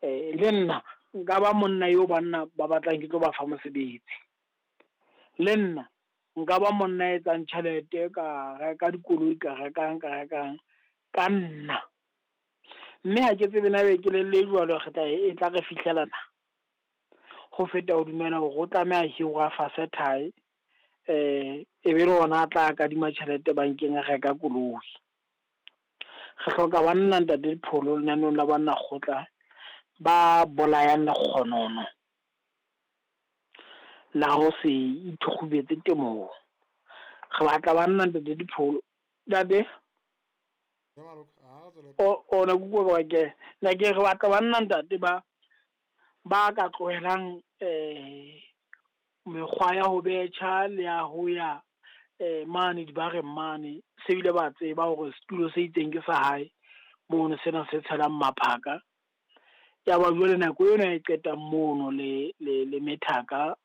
Le nna nka ba monna eo banna ba batlang ke tlo ba fa mosebetsi. Le nna nka ba monna a etsang tjhelete, ka reka dikoloi, ka rekang, ka rekang ka nna. Mme ha ke tsebe na ebe kelello e jwalo re tla e tla re fihlela na. Ho feta ho dumela hore o tlameha hirwe a fase thae, e be le hona a tla kadima tjhelete bankeng a reka koloi. Re hloka banna ntate Dipholo lenaneong la banna kgotla ba bolayang lekgonono la ho se ithukgubetse temong. Re batla banna ntate Dipholo. Ntate? O ne ke utlwa ke ne ke re batla banna ntate ba ka tlohelang mekgwa ya ho betjha le ya ho ya mane dibareng mane, se bile ba tseba hore setulo se itseng ke sa hae mono, sena se tshelang maphaka. Ya ba jwale nako ena e qetang mono le le methaka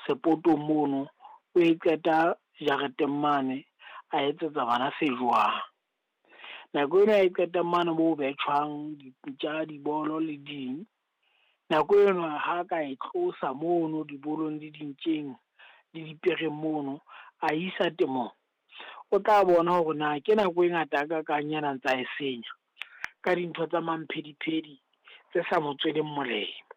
sepotong mono, o e qeta jareteng mane a etsetsa bana se jowang. Nako ena e qetang mane moo betjhwang dintja, dibolo le ding. Nako eno ha ka e tlosa mono dibolong le dintjeng le dipereng mono, a isa temong, o tla bona hore na ke nako e ngata hakakang yana ntsa e senya ka dintho tsa mamphediphedi tse sa mo tsweleng molemo.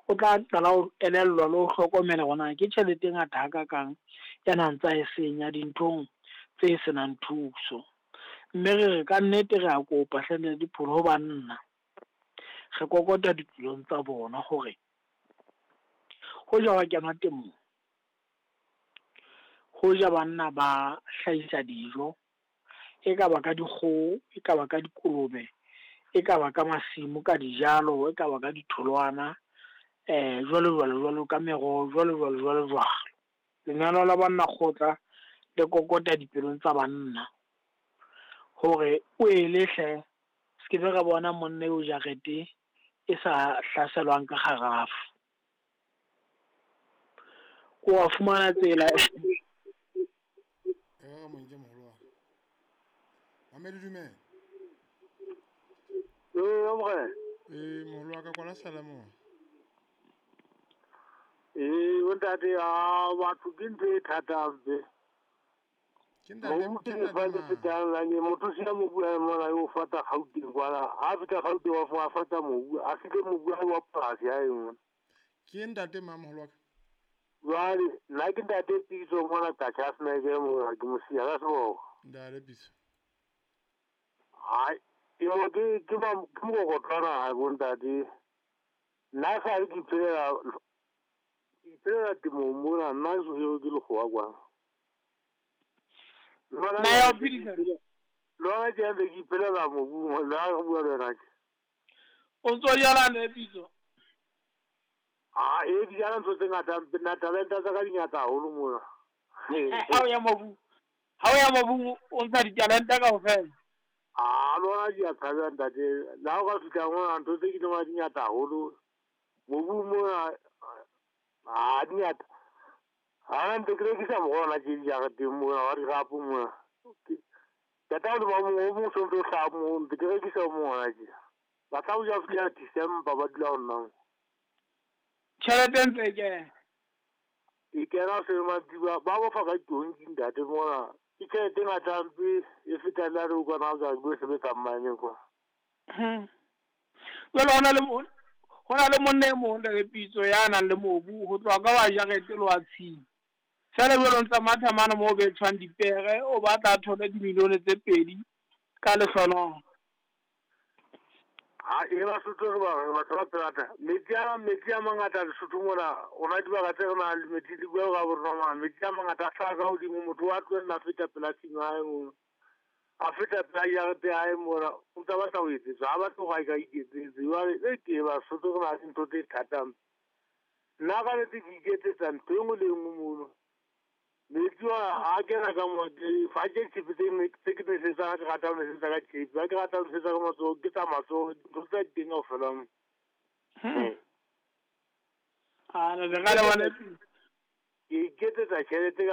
O tla qala ho elellwa le ho hlokomela hore na ke tjhelete e ngata hakakang yana ntsa e senya dinthong tse senang thuso. Mme re re ka nnete re a kopa hle ntate Dipholo ho banna, re kokota dipelong tsa bona hore hoja wa kenwa temong, hoja banna ba hlahisa dijo, e ka ba ka dikgoho, e ka ba ka dikolobe, e ka ba ka masimo, ka dijalo, e ka ba ka ditholwana, jwalo jwalo jwalo ka meroho, jwalo jwalo jwalo jwalo. Lenaneo la banna kgotla le kokota dipelong tsa banna hore o ele hle, se ke be ra bona monna eo jarete e sa hlaselwang ka kgarafu. O wa fumana tsela. Monke moholo wa. Mamedi dumela. Ee, morena. Ee, moholo wa ka kwala sala mo. Ee, bontate, a batho ke ntho e thata hampe. Ke ntate, Mobu ke ke ntate lefatshe mang? fetang lane, motho sena mobu a mona o fata Gauteng kwana. Ha feta Gauteng wa fata mobu, a fihle mobu wa polasi ya engwe. Ke ntate mang moholo wa ka? Jwale nna ke ntate Pitso mona Qachaseneke mona, ke mosiya ka seboko. Ntate Pitso. Hai, temo ke ke ke mokokotlwana ha bontate. Nna sa ke iphelela temong mona, nna ke so ke lekgowa kwana. Na ya ho phedisa? Lona ke ntse ke iphelela mobung, le ha re bua le wena tje. O ntso jala ne Pitso? Ah, e di jala ntho tse ngata, nna talenta tsa ka di ngata haholo mona. Ha o ya mobung, ha o ya mobung o ntsha ditalenta kaofela. Ah, lona di a tshabeha ntate. Le ha o ka fihla mona ntho tse ke di di ngata haholo. Mobung mona, ah, di ngata. Ha ntse ke rekisa moroho tje dijareteng mona, wa dirapo mona. Tata le ba mong o mong o sontso o hlaha moo, ntse ke rekisa o mong hona tje. Ba tla ho ja fihla December ba dula ho nna mo. Tjhelete e ntse e kena. E kena se madiba ba bofa ka tonki ntate mona. Ke tjhelete e ngata hampe e fetang le ha o kwana o ka bo sebetsa mane kwa. Jwale hona le monna e mong ntate Pitso ya nang le mobu ho tloha ka wa jarete le wa tshimo. Jwale jwale o ntsa matha mane moo betjhwang dipere, o batla a thole dimilione tse 2 ka lehlohonolo. Ha e Basotho re ba batho ba tsebata. Metsi a mangata Lesotho mona, ona dibaka tse re nang le metsi di bua ka borona mona. Metsi a mangata a hlaha ka hodimo, motho wa tlohella a feta pela tshimo ya hae mona. A feta pela jarete ya hae mona, o ntsa batla ho etsetswa, ha batle hore a ka iketsetse. Jwale e ke Basotho re na le ntho tse thata. Nna ka nnete ke iketsetsa ntho e nngwe le e nngwe mono. Metsi ona a kena ka mo, fa ke tshepe tse ke nesetsang, ke rata ho nesetsa ka tshepe. Ha ke rata ho nesetsa ka matsoho, ke tsa matsoho, ntho tsa teng kaofela mo. Ah, le ka le bona. Ke iketsetsa tjhelete ka